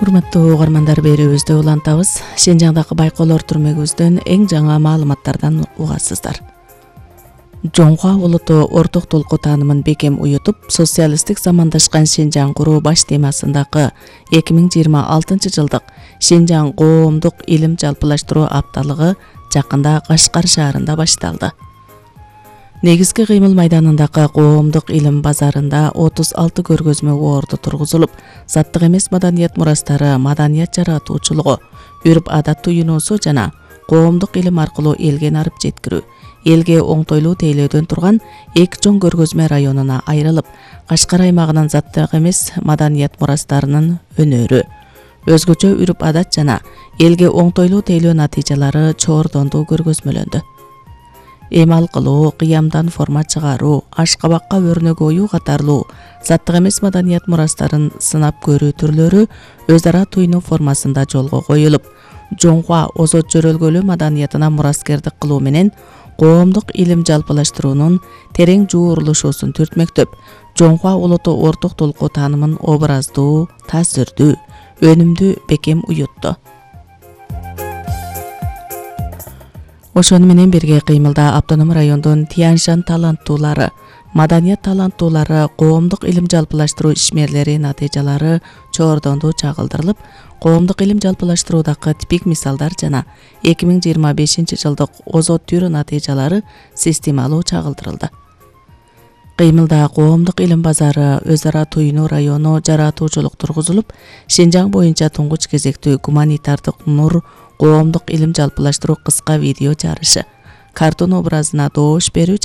Урматтуу угармандар, берүүбүздү улантабыз. Шенжаңдагы байкоолор түрмөгүбүздөн эң жаңы маалыматтардан угасыздар. Жоңхуа улуту орток толку таанымын бекем уютуп, социалисттик замандашкан Шенжаң куруу баш темасындагы 2026 жылдык Шенжаң коомдук илим жалпылаштыруу апталыгы жакында Кашкар шаарында башталды. Негизги кыймыл майданындагы коомдук илим базарында 36 көргөзмө орду тургузулуп, заттык эмес маданият мурастары, маданият жаратуучулугу, үрп-адат туюнуусу жана коомдук илим аркылуу элге нарып жеткирүү, элге оңтойлуу тейлөөдөн турган эки чоң көргөзмө районуна айрылып, Кашкар аймагынын заттык эмес маданият мурастарынын өнөрү, өзгөчө үрп-адат жана элге оңтойлуу тейлөө натыйжалары чоордондуу көргөзмөлөндү. Эмал кылуу, кыямдан форма чыгаруу, ашкабакка өрнөк оюу катарлуу заттык эмес маданият мурастарын сынап көрүү түрлөрү өз ара туйнуу формасында жолго коюлуп, Жоңхуа озот жөрөлгөлүү маданиятына мураскердик кылуу менен коомдук илим жалпылаштыруунун терең жуурулушуусун түртмөктөп, Жоңхуа улуту орток толку таанымын образдуу, таасирдүү, өнүмдүү бекем уютту. Ошону менен бирге кыймылда автоном райондун Тяньшан таланттуулары, маданият таланттуулары, коомдук илим жалпылаштыруу ишмерлери натыйжалары чоордондуу чагылдырылып, коомдук илим жалпылаштыруудагы типик мисалдар жана 2025 жылдык озот түрү натыйжалары системалуу чагылдырылды. Кыймылда коомдук илим базары, өз ара туюнуу району жаратуучулук тургузулуп, Шенжаң боюнча туңгуч кезектүү гуманитардык нур коомдук илим жалпылаштыруу кыска видео жарышы, картун образына доош берүү